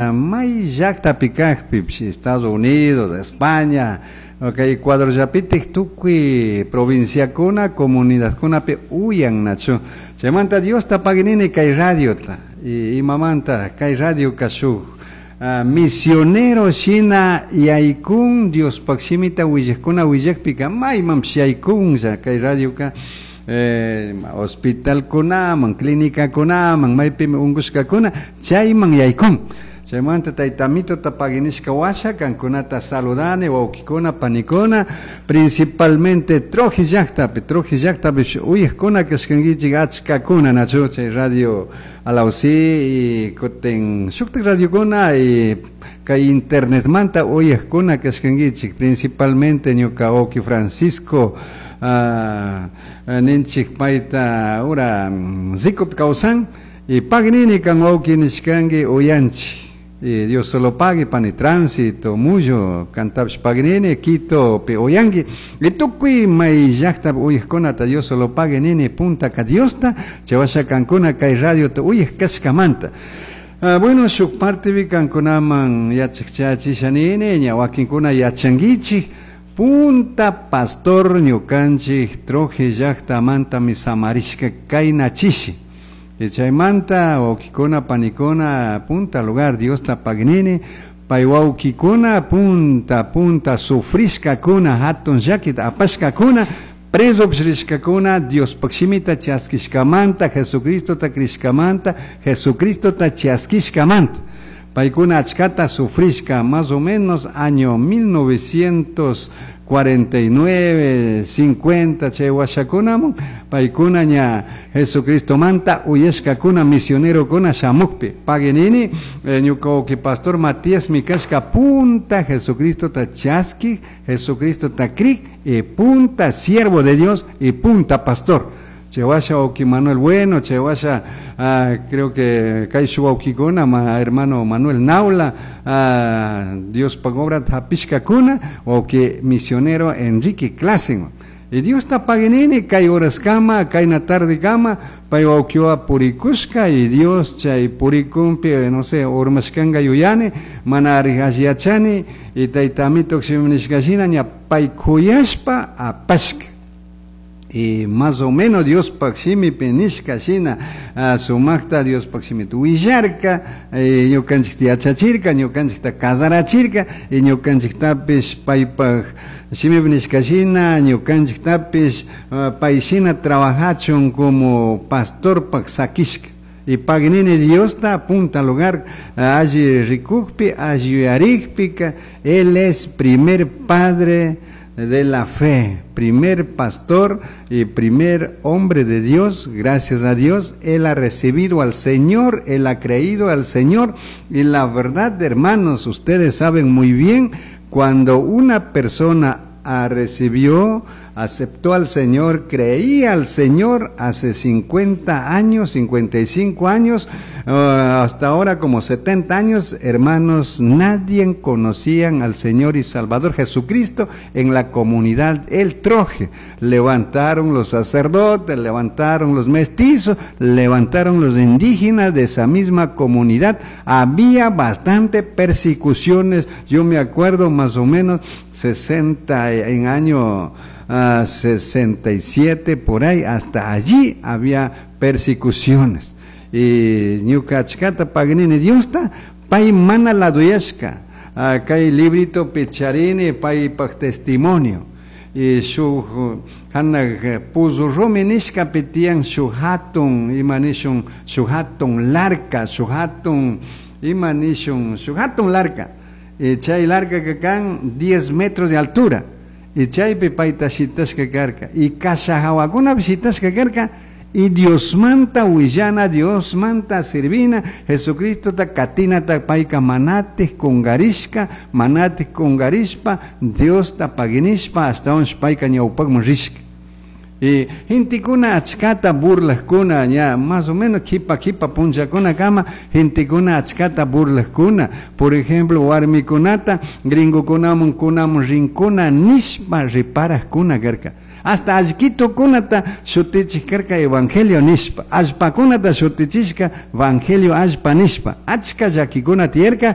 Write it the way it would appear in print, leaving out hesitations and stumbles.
May llaqtapi kaqpipish, Estados Unidos, España, kay Ecuadorllapitik tukuy provinciakuna, comunidadkunapi uyannachu. Chaymanta Diosta paginini kay radiota. Y imamanta kay radioka shuk misionero shina yaykun Diospaq shimita willaqkuna willaqpika maymanpish yaykunlla kay radioka hospitalkunaman, clínicakunaman, maypimi unqushkakuna chayman yaykun. Chaymanta tayta Amitota paginishka washa kankunata saludani wawkikuna panikuna, principalmente Troje llaqtapi, Troje llaqtapi uyaqkuna kashkankichik achkakuna nachu chay radio Alausi y kutin shuktik radiokuna y kay internetmanta uyaqkuna kashkankichik, principalmente ñuka wawki Francisco ninchik payta ura Zikupi kawsan y paginini kan wawki nishkanki uyanchik. Y Dios solo pague pani tránsito, muyo, kantapish paginini, Quito pi uyanki. Y tukuy may llaqtapi uyaqkunata Dios solo pague nini punta ka Diosta, chawasha kankuna kay radiota uyaq kashkamanta. Bueno, shuk partepi kankunaman yachaq chayachisha nini, ña wakinkuna yachankichik, punta pastor ñukanchik Troje llaqtamantami samarishka kayna chishi. Y chaymanta wawkikuna panikuna punta lugar Diosta paginini, pay wawkikuna punta punta sufrishkakuna hatun llakita apashkakuna preso rishkakuna Diospaq shimita chaskishkamanta, Jesucristota crishkamanta, Jesucristota chaskishkamanta. Paykuna achkata sufrishka más o menos año 1949, 50 chay washakunamun paykuna ña Jesucristomanta uyashkakuna misionerokuna shamukpi. Paginini ñuka wawki pastor Matías mi kashka punta Jesucristota chaskik, Jesucristota krik y punta siervo de Dios y punta pastor. Chewasha wawki Manuel Bueno, chewasha creo que kay shuk wawkikuna ma hermano Manuel Naula, Diospaq obra hapishkakuna, wawki misionero Enrique Klassen. Y Diosta paginini kay horaskama, kayna tardekama, pay wawkiwa purikushka y Dios chay purikunpi, no sé, urmashkanga yuyani, mana ari yachani, y tayta Amito nishkashina ña pay kuyashpa apashka. Y más o menos Diospaq shimipi nishka shina sumaqta Diospaq shimita willarka, ñukanchikta yachachirka, ñukanchikta casarachirka, y ñukanchiktapish paypaq shimipi nishka shina, ñukanchiktapish pay shina trabajachun como pastorpaq sakishka. Y paginini Diosta punta lugar alli rikukpi, alli yuyarikpika, él es primer padre de la fe, primer pastor y primer hombre de Dios. Gracias a Dios, él ha recibido al Señor, él ha creído al Señor. Y la verdad, hermanos, ustedes saben muy bien, cuando una persona recibió, aceptó al Señor, creía al Señor hace 50 años, 55 años, hasta ahora como 70 años, hermanos, nadie conocían al Señor y Salvador Jesucristo en la comunidad El Troje. Levantaron los sacerdotes, levantaron los mestizos, levantaron los indígenas de esa misma comunidad. Había bastante persecuciones, yo me acuerdo más o menos 60 en año 67 por ahí, hasta allí había persecuciones. Y ñuka achkata paginini Diosta, pay mana laduyashka, kay librito picharini paypaq testimonio. Y shuk hanaq puzu rumi nishkapi tiyan shuk hatun, ima nishun, shuk hatun larka, shuk hatun, ima nishun, shuk hatun larka. Y chay larka ka kan 10 metros de altura. Y chaypi payta shitashka karka. Y kasha hawakunapi shitashka karka. Y Diosmanta willana, Diosmanta servina, Jesucristota katinata payka manatik kungarishka, manatik kungarishpa, Diosta paginishpa, hasta onsh payka ñawpakman rishka. Y gentekuna achkata burlaqkuna, ña más o menos kipa kipa punllakuna kama, gentekuna achkata burlaqkuna. Por ejemplo, warmikunata, gringokunaman kunaman rinkuna nishpa riparaqkuna karka. Hasta allquitokunata shutichik karka evangelio nishpa, allpakunata shutichishka evangelio allpa nishpa, achka llakikuna tiyarka.